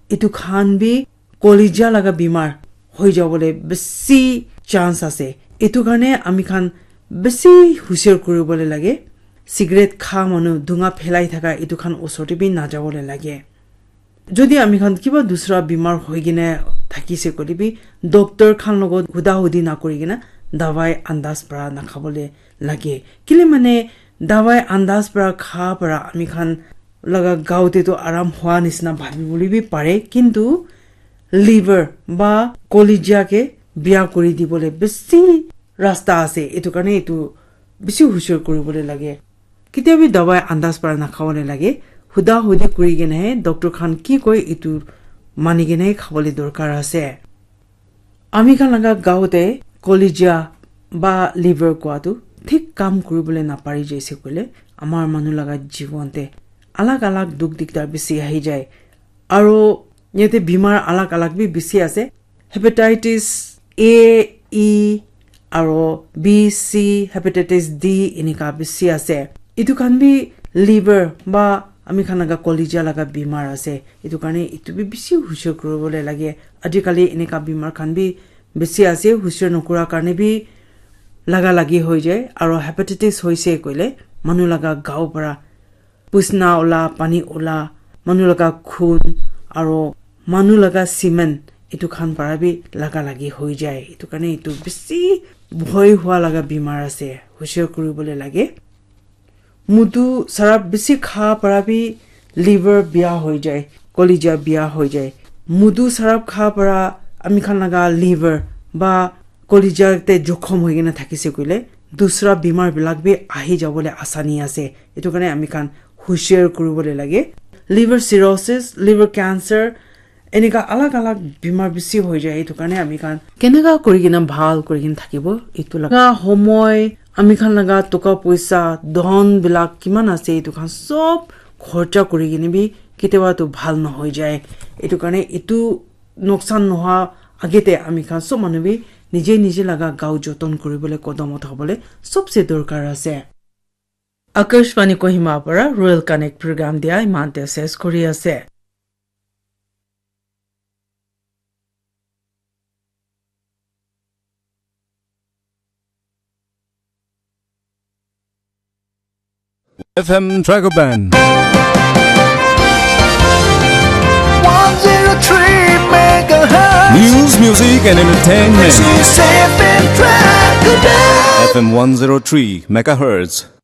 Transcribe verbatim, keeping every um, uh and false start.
Etu khan bi colleague laga bimar hoi jabole bisi chance ase. Etu karne ami khan bisi husiar kuribole lage. Cigarette kha manu, dunga phelai thaka, etu khan osor te bi najabole lage. Jodi ami khan kiba dusra bimar hoi kene thakise koile bi, doctor khan logot huda hudi na kuri kene dawai andas para na khabole lage. Kile mane dawai andas para kha para ami khan laga gao te to aram hua nisna bhabi bole bi pare, kintu liver ba colleague ke bia kuri dibole bisi rasta ase. Etu karne etu bisi husiar kuribole lage. Ketia bi dawai andas para na khabole lage. Huda hudi kuri kene he doctor khan ki koi etu mani kene khabole dorkar ase. Ami khan laga gao te colleague ba liver kua tu thik kam kuribole na pari jaise koile, amar manu laga jiwon te alag alag dukh dikdar bisi ahi jai. Aro yate bimar alag alag bi bisi ase. Hepatitis A, E, aro B, C, hepatitis D enika bisi ase. Etu khan bi liver ba ami khan laga colleague laga bimar ase. Etu karne etu bi bisi husiar kuribole lage. Ajikali enika bimar khan bi bisi ase, husiar nokura karne bi laga lagi hoi jai. Aro hepatitis hoise koile manu laga gao para pusna ola, pani ola, manu laga khun, aro manu laga semen, etu khan para bi laga lagi hoi jai. Etu karne etu bisi bhoi hua laga bimar ase, husiar kuribole lage. Mudu sarab bisi kha para bi liver bia hoi jai, colleague bia hoi jai. Mudu sarab kha para ami khan laga liver ba colleague te jokhom hoi kena thakise koile, dusra bimar bilak bi ahi jabole asani ase. Etu karne ami khan husiar kuribole lage. Liver cirrhosis, liver cancer, enika alag alag bimar bisi hoi jai. Etu karne ami khan keneka kuri kena bhal kuri kena thakibo, etu laga homoi, ami khan laga toka poisa, dhon bilak kiman ase, etu khan sob khorcha kuri kena bi ketia ba tu bhal nohoi jai. Etu karne etu noksan noha age te ami khan sob manu bi nije nije laga gao joton kuribole, kodom uthabole sobse dorkar ase. Akashvani Kohima para Rural Connect program dia iman te ses kuri ase. F M Dragon Band. One zero three megahertz. News, music, and entertainment. This is F M Dragon Band. F M one zero three megahertz.